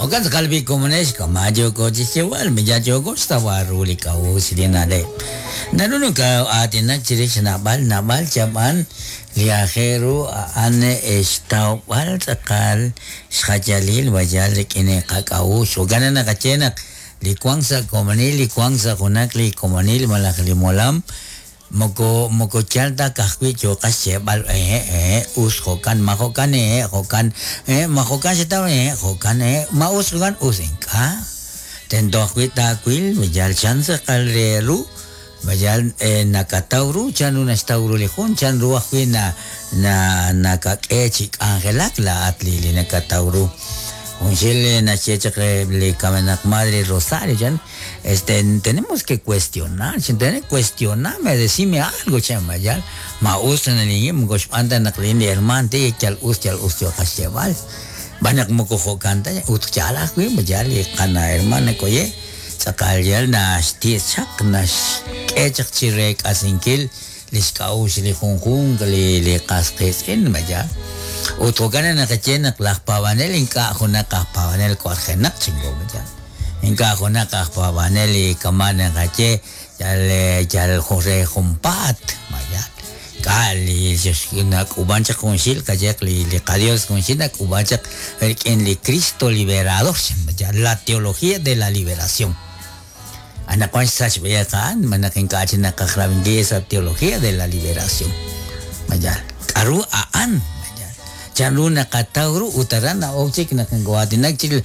Jo'kan tz'aqal b'i' komonex kama' yooko chi xyeeb'al, ma yal yooko xtawb'al ru li k'a'uxl li na'leb'. Naru nokoo'aatinak chirix naab'al naab'al chab'an li aajel ru a'an xtawb'al tz'aqal xjayalil ma yal rik'in li qak'a'uxl. Jo'kan naq naqaye naq li wank sa' komonil, li wank sa' junaq li komonil malaj li molam Moko moko yaal ta ka'ajwi' yooqat xyeeb'al hehe' hehe' us jo'kan, ma jo'kan hehe' jo'kan, hehe' ma jo'kan xataw hehe' jo'kan, hehe' ma us jo'kan us ink'a'. Tento ajwi' taawil ma yal chan tz'aqal re ru, ma yal nakataw ru chan ru naxtaw ru li jun, chan ru ajwi' na na nakak'e chi k'anjelak laa'at li li nakataw ru. Junxil naxye chaq li kamenaq madre Rosario chan. Este, tenemos que cuestionar, tenemos que cuestionarme, decime algo, chan ma yal, ma us ta nalinye, moko xb'aan ta naq lin li hermaan ti yal us yal us yooqat xyeeb'al. Xb'aan naq moko jo'kan ta, ut yaal ajwi' ma yaal li qana hermana koye, tz'aqal yal naxti' chaq, naxk'e chaq chi reek'asinkil li xk'a'uxl li junjunq li li qas qiitz'in, ma yaal. Ut jo'kan naq naqaye naq laj paab'anel ink'a' junaq aj paab'anel wanjenaq chingo, ma yaal. Ink'a' junaq aj paab'anel li kama' naqaye yal yal re junpaat, ma yaal. Ink'a' li nak'uub'an chaq junxil qayehaq li li qaDios junxil nak'uub'an chaq rik'in li Cristo liberador, ma yaal, la teología de la liberación. Anaqwan xsach b'ayaq a'an, ma naq ink'a' chik naqaj rab'inkil esa teología de la liberación. Ma yaal. K'a'ru a'an? Ma yaal. Chanru naqataw ru ut aran na'ok chik naq nokoo'aatinak chik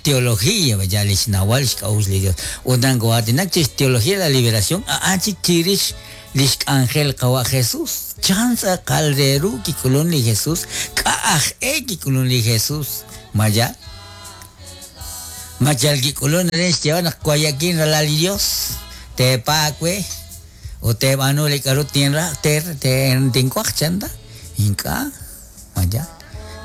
teología, ma yaal, li xnawal xk'a'uxl li Dios. Ut naq nokoo'aatinak chik teología de la liberación, a'an chik chirix lix k'anjel Qawa' Jesús. Chan tz'aqal re ru kik'ulun li Jesús? K'a' aj e kik'ulun li Jesús? Ma yaal. Ma yal kik'ulunk re xyeeb'al naq waye'kin ralal li Yos, teepaak we ut teeb'aanu li k'aru tinraj, tinwaj, chan ta? Ink'a', ma yaal.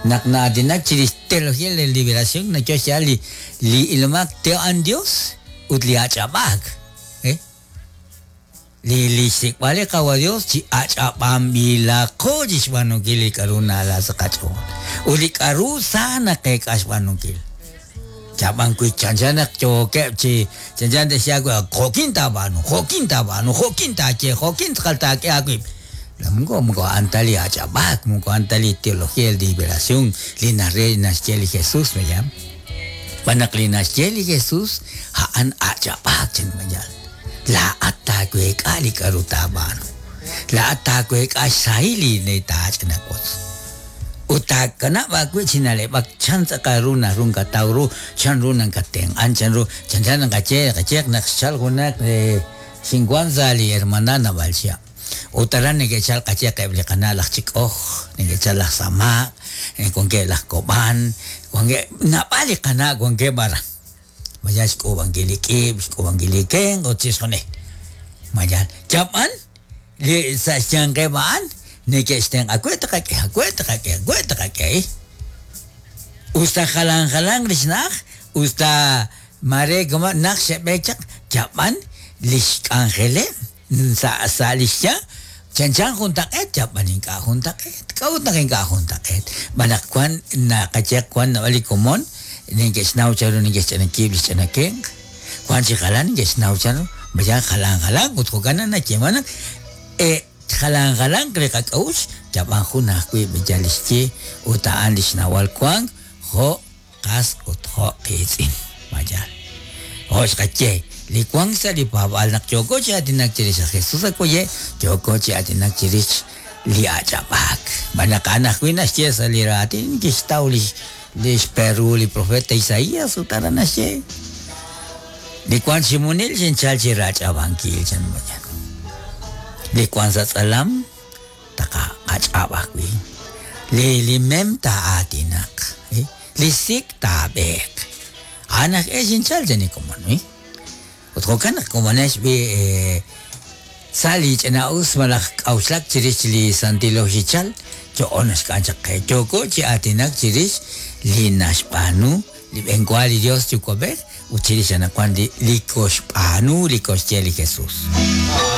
Naq na'aatinak chirix teología de liberación, nayo xyaal li li ilomaq te'an Dios ut li ach'ab'aak. Eh? Li li xsik'b'al li Qawa' Dios chi ach'ab'anb'ilaqo chixb'aanunkil li k'a'ru na'ala sa' qach'ool, ut li k'a'ru sa naqeek'a xb'aanunkil. Chab'an wi chanchan naq yookeb' chi chanchan te'xye aawe, jo'kin taab'aanu, jo'kin taab'aanu, jo'kin taaye, jo'kin tz'aqal taak'e aawib'. Moko moko a'an ta li ach'ab'aak, moko a'an ta li teología de liberación li nare naxye li Jesús, ¿verdad? Xb'aan naq li naxye li Jesús a'an ach'ab'aak, chan mayal. Laa'at taaweek'a li k'a'ru taab'aanu. Laa'at taaweek'a xsahil li taach'inawotz. Ut taakanab' aawib' chi na'leb'ak chan tz'aqal ru naru nakataw ru, chan ru nakatenq'an, chan ru, chanchan naqaye, naqaye naq xchal junaq xinwan sa' li hermandad naab'al chihab'. Ut aran neke'chal qayehaq eb' li qana' laj Chik'oj, neke'chal laj Sama', wankeb' laj Kob'an, wankeb' naab'al li qana' wankeb' aran. Ma yal xk'uub'ankil li k'iib', xk'uub'ankil li kenq' ut chixjunil. Ma yal yab'an li sa' xyanqeb' a'an neke'xtenq'a we taqak'e, we taqak'e, we taqak'e. Us ta jalan jalanq li xna'aj, us ta maare kama' najt xe'b'eek chaq, yab'an li xk'anjeleb' sa' sa' li xya chanchan juntaq'eet, yab'an ink'a' juntaq'eet. K'a'ut naq ink'a' juntaq'eet? Xb'aan naq wan naqaye wan naab'al li komon neke'xnaw chanru neke'xch'ina kiib' li xch'ina kenq', wan chi jalan neke'xnaw chanru, mayal jalan jalanq ut jo'kan naq nayeeman naq e jalan jalanq li qak'a'uxl, yab'an jun ajwi' yal li xye ut a'an li xnawal wank jo' qas ut jo' qiitz'in. Ma yaal? Jo' xqaye, li wank sa' li paab'aal naq yooko chi aatinak chirix aj Jesús akoye', yooko chi aatinak chirix li ach'ab'aak. Xb'aan naq a'an ajwi' naxye sa' li raatin kixtaw lix lix perru li profeta Isaías ut aran naxye, Li wank chi munil xinchal chi rach'ab'ankil, chan ma yaal. Li wank sa' tz'alam taqach'ab' ajwi'. Li li mem taa'aatinaq, li sik taab'eeq. A'an aj e xinchal chan li komon, Ut jo'kan naq komonex b'i' sa' li ch'ina'us malaj k'a'uxlak chirix li santil oxichal, yo'on naxk'am chaq qe. Yooko chi aatinak chirix li naxb'aanu li b'enwa li Dios Yuwa'b'ej ut chirix anaqwan li li koxb'aanu li koxye li Jesús.